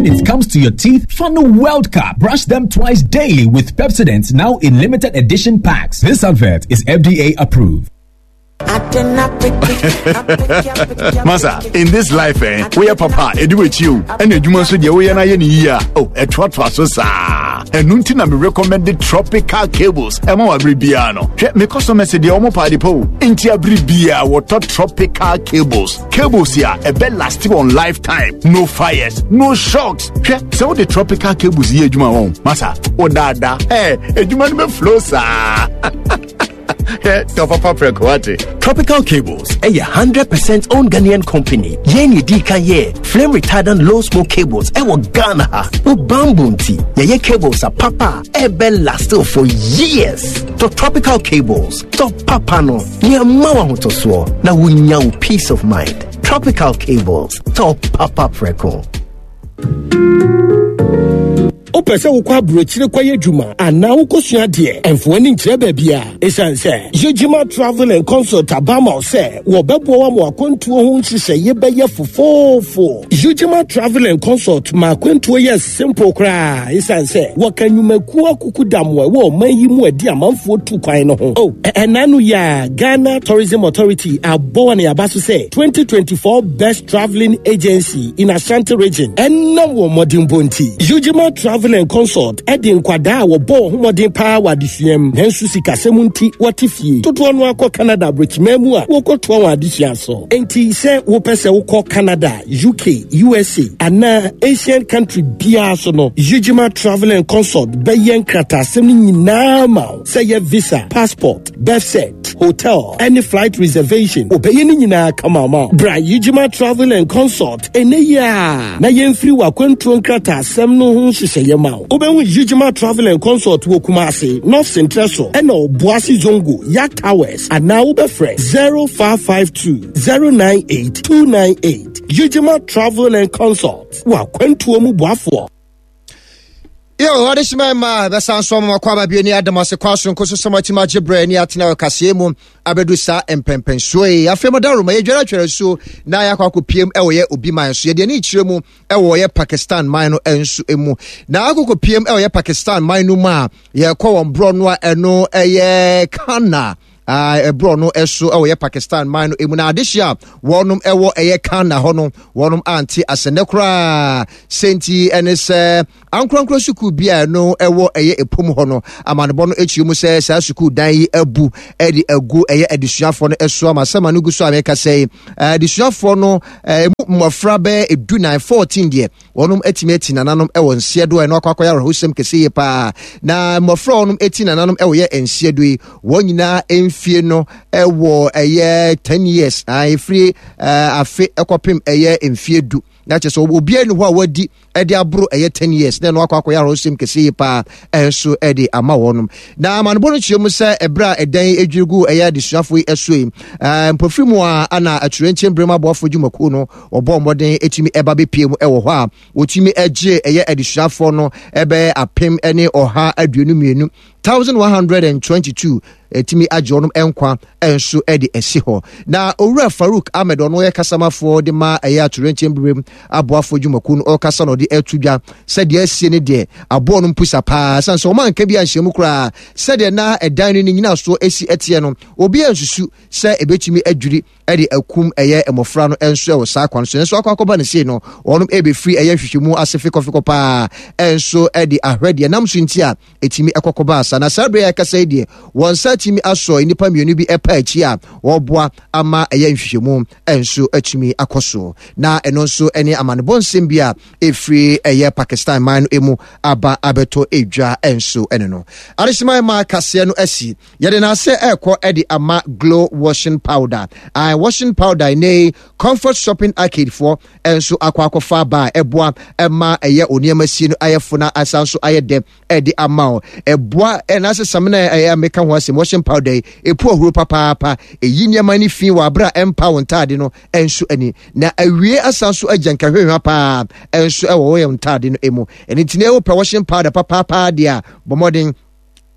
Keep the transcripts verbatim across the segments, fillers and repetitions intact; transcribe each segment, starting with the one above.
When it comes to your teeth, Funnel World Cup. Brush them twice daily with Pepsodent now in limited edition packs. This advert is F D A approved. Masa, in this life, eh, we are papa, edu with you, and you must be we are year. Oh, a trot for so sa. And nuntina me recommended tropical cables. Emo abribiano. Me customer said the omo party po. Inti abribia water tropical cables. Cables here, a bed lasting on lifetime. No fires, no shocks. So the tropical cables here, Juma on. Masa, oh dada, eh, a Juma me flow sa. Tropical Cables, a hundred percent owned Ghanaian company. Yeni D K ye flame retardant low smoke cables. Ewo Ghana, o bamboo tea. Ye cables are papa. Ebe last for years. To Tropical Cables, to papa no. Ni amawa hotoswo na wunya peace of mind. Tropical Cables, to papa preko. Opese wokɔ aburokyire kɔyɛ adwuma anaa wokɔsua adeɛ ɛmfo ani nkyerɛ baabi a ɛsiane sɛ Yejima Travel and Consult abama sɛ wɔbɛboa wa ma akwantuo ho nhyehyɛeɛ bɛyɛ fofoofo. Yejima Travel and Consult ma akwantuo yɛ simple koraa ɛsiane sɛ wɔka nnwumakuo akuku dam wɔ ɛwɔ ɔman yi mu adi amanfoɔ tu kwan no ho. Oh, ɛna no yɛ a Ghana Tourism Authority abɔ wɔ ne aba so sɛ twenty twenty-four Best Traveling Agency in Ashanti Region ɛnam wɔ mmɔdenbɔ nti. Yejima Travel and Consult ɛde nkwadaa a wɔbɔ homɔden paa wɔ adesua mu nanso sikasɛm nti wɔte fie dodoɔ no akɔ Canada aborɔkyima mu a wɔkɔtoa wɔn adesua so. Enti sɛ wopɛ sɛ wokɔ Canada, U K, U S A anaa Asian country biara so no, Yejima Travel and Consult bɛyɛ nkrataasɛm no nyinaa ma wo sɛ yɛ visa, passport, birth cert, hotel, any flight reservation. Wɔbɛyɛ ne nyinaa kama ma wo. Bra Yejima Travel and Consult ɛnɛ yi a na yɛmfiri w'akwantuo nkrataasɛm no ho nhyehyɛeɛ ma wo. Wobɛhu Yejima Travel and Consult wɔ Kumasi, North Central so, ɛna Obuasi Zongo, Yak Towers, anaa wobɛfrɛ zero five five two zero nine eight two nine eight. Yejima Travel and Consult w'akwantuo mu boafoɔ. Yo, adesima ma besan so ma kwa ba bi ni adamase kwa so nkoso so matima gyebre ni atena okase mu abedu sa empempenso e afem daro ma yedwara twere so na yakwa akopiem e wo ye obi man so ye de ni kyire mu e wo ye Pakistan man no enso emu na akokopiem e wo ye Pakistan man no ma ye kɔ won bro no eno e ye Kana ah ebro no eso e wo ye Pakistan man no emu na adehia wonum e wo e ye Kana ho no wonum anti asene kra senti ene se ankrankra suku bia no e wo eye epom ho no amanebo no echi mu se sa suku dan yi abu e di agu eye adesuafo no eso amasama no gu so ameka sei adesuafo no mmofra be edu fourteen de wonum etimi eti nananom e wo nsiedo e no akwakoya rahosem kese ye pa na mmofra wonum eti nananom e wo ye nsiedo yi won nyina emfie no e wo eye ten years a efri afe ekopem eye emfie du na che so obi enu ho a wadi e de abro eye ten years na no akwakoya rahosem kese ye pa enso e de ama wonum na amanbo no chiom se ebra edan edwirigu eye adesuafo yi eso yi mpofri mu a ana aturenche brema boafo dwumaku no obo moden etimi eba bepie mu e wo ho a otimi egye eye adesuafo no ebe apem ene oha aduonu mienu thousand one hundred twenty-two etimi agye onom enkwa enso e de esi ho na Owura Farouk Ahmed ono ye kasamafo de ma eye aturenche brem aboafo dwumaku no okasa no de etudwa se de asie ne de abo no mpusa pa san so man ka bia nhyiam kra se de na edan no nyina so esi etie no obi ansusu se ebetimi adwiri e de akum eye emofra no enso e wo saa kwan so enso akwakoba ne se no onom ebe free eye hwehwemu asefe kofiko pa enso e de ahwede nam so ntia etimi ekokoba asa na sabre ya kasa de won sa timi aso nipa mienu bi epa achi a woboa ama eye nhwehwemu enso atumi akoso na eno nso ene amanebo nsem bi a efri eye Pakistan man no emu aba abeto edwa enso ene no arishima ma kase no asi yede na ase ekɔ e de ama glow washing powder I washing powder ne Comfort Shopping Arcade for enso akwa akɔfa ba eboa ema eye oniema si no ayefo na asanso aye de e de ama o eboa e na sesam na eye meka ho asem washing powder epu ohuru papaapa eyi niema ni fi wa abra empa won taade no enso ani na awie asanso agyanka hwehwa pa enso e wo ye ntaade no emu eni tine wo pe washing powder papaapa de a bomodin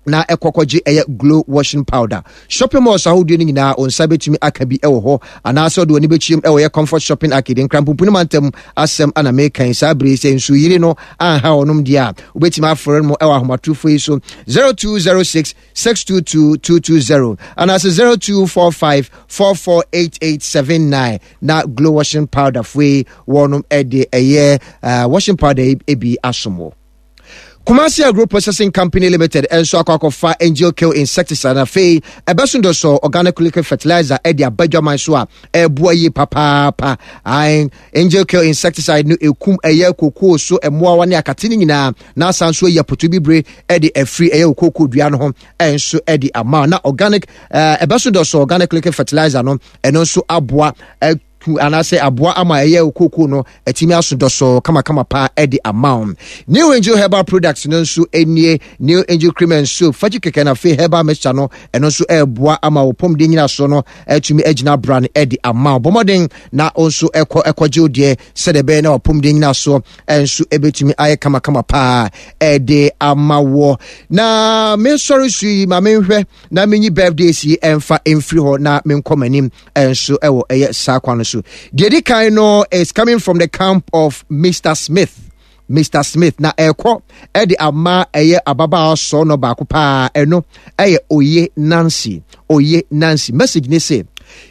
Na ɛkɔkɔgye ɛyɛ Glow washing powder. Shopping malls ahodoɔ no nyinaa, wo nsa bɛtumi aka bi ɛwɔ hɔ, anaasɛ ɔde w'ani bɛkyiem ɛwɔ yɛ Comfort Shopping Arcade, Nkrampomponi mantam asɛm ana mekan saa bere. Sɛ nsuyiri no anha ɔnom deɛ a, wobɛtumi afrɛ no ɛwɔ ahomatorofo yi so: zero two zero six six two two two two zero anaasɛ zero two four five four four eight eight seven nine. Na Glow washing powder foyi wɔnom ɛde ɛyɛ uh, washing powder yi bi asom wɔ Kumasi Agro Processing Company Limited nso akɔ akɔfa Angel Kill insecticide na afei ɛbɛso dɔ organic liquid fertilizer ɛde aba dwaman so a ɛboa yie papaapa. Ae, Angel Kill insecticide no ekum ɛyɛ kokoo so mmoawa ne akate no nyinaa, na asan so ayi apoto bibire ɛde afiri ɛyɛ kokoo dua no ho ɛnso ɛde ama. Na organic ɛɛ ɛbɛso dɔ organic liquid fertilizer no, ɛno nso aboa ɛ anaasɛ aboa ama ɛyɛ kooko no atumi aso dɔsɔ kamakama paa ɛde ama wo. New Angel Herbal Products no nso nie: New Angel Cream and Soap fagye kɛkɛ na afei herbal mixture no, ɛno nso ɛreboa ama wo pɔmuden nyina so no atumi agyina bra no ɛde ama wo. Bɔmmɔden na wo nso ɛkɔ ɛkɔgye wo deɛ sɛdeɛ ɛbɛyɛ na wapɔmuden nyina so ɛnso ɛbɛtumi ayɛ kamakama paa ɛde ama wɔ. Na mensɔre so yi, ma menhwɛ na menyi birthdays yi ɛmfa ɛmfiri hɔ na menkɔ m'anim ɛnso ɛwɔ ɛyɛ saa kwan no so. Deɛ di kan no is coming from the camp of Mister Smith. Mister Smith na ɛkɔ ɛde ama ɛyɛ ababaawa sɔɔ no baako paa, ɛno ɛyɛ Oye Nancy. Oye Nancy message ne say,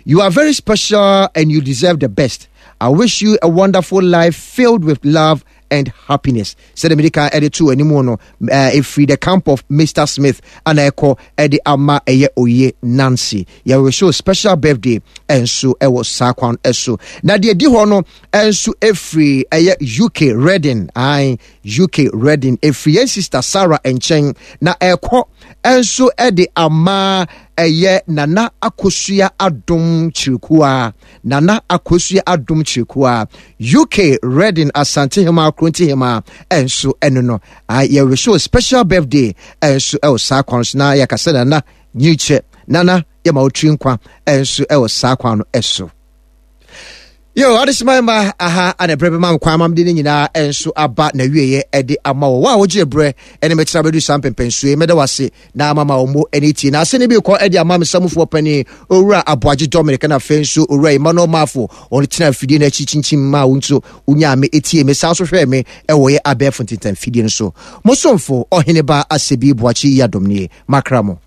"You are very special and you deserve the best. I wish you a wonderful life filled with love and happiness." Sɛdeɛ mede kan ɛde to anim no, ɛfiri the camp of Mister Smith ana ɛkɔ ɛde ama ɛyɛ Oye Nancy. Yɛwɔ special birthday ɛnso ɛwɔ saa kwan ɛso. Na deɛ di hɔ no ɛnso ɛfiri ɛyɛ U K Reading, ae, U K Reading, ɛfiri yɛn sister Sarah nkyɛn na ɛkɔ ɛnso ɛde ama ɛyɛ Nana Akosua Adom Kyirikua. Nana Akosua Adom Kyirikua, U K Reading, Asantehema Krontihema ɛnso ɛno no yɛwɔ special birthday ɛnso ɛwɔ saa kwan so. Na yɛkasa Nana nyikyɛ, Nana yɛma wotiri nkwa ɛnso ɛwɔ saa kwan no ɛso. Yo, adesima ma aha ana berɛ bɛma nkwan ma mede no nyinaa ɛnso aba na wieɛ ɛde ama wɔ wo a wogye berɛ ɛne mɛtena bɛdu saa mpɛmpɛnsoe. Mɛda wase na ama ma wo ɛne tie na ase ne bi kɔ ɛde ama me samufoɔ pani Owura Aboagye Dominic, na afei nso Owura Emmanuel Mafo, ɔno tena afidie no akyi kyinkyim ma wo nso wonyaa me ɛtie me, saa nso hwɛɛ me ɛwɔ yɛ abɛɛfo ntentan fidie no so. Mo somfo Ɔhene Ba Asɛbi Boakye yi adom nie makra mo.